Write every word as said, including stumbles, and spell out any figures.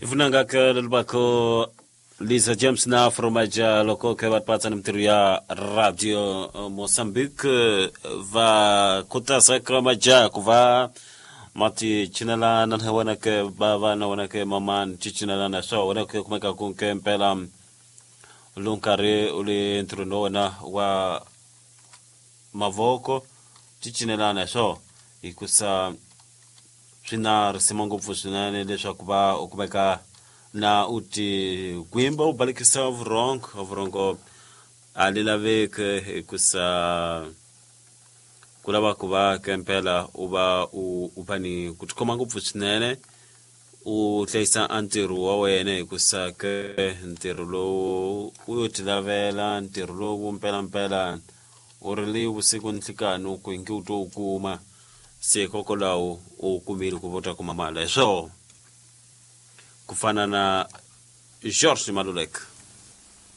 Vunanga ke lelibako Lisa James na Fromaja loko ke va patsa ni mintirho ya Radio Mozambique va khutaza ka majaha ku va ma ti cinelana na wena ke bava na wena ke mamani ti cinelana swa wena ke kumeka ku ke mpela lowu nkarhi u le ntirhweni wa wena wa mavoko ti cinelana swo hikusa swi na risima ngopfu swinene leswaku va u kumeka na u ti gwimba u balekisa vurhongo vurhongo a li laveki hikusa ku lava ku va ke mpela u va u u va ni ku tikhoma ngopfu swinene u hlayisa a ntirho wa wena hikusa ke ntirho lowu u yo ti lavela ntirho lowu mpelampela u ri le vusiku ni nhlikani ku ingi u to wu kuma se hikokwalaho u kumile ku va u ta kuma mali hi swoho ku fana na George Maluleke.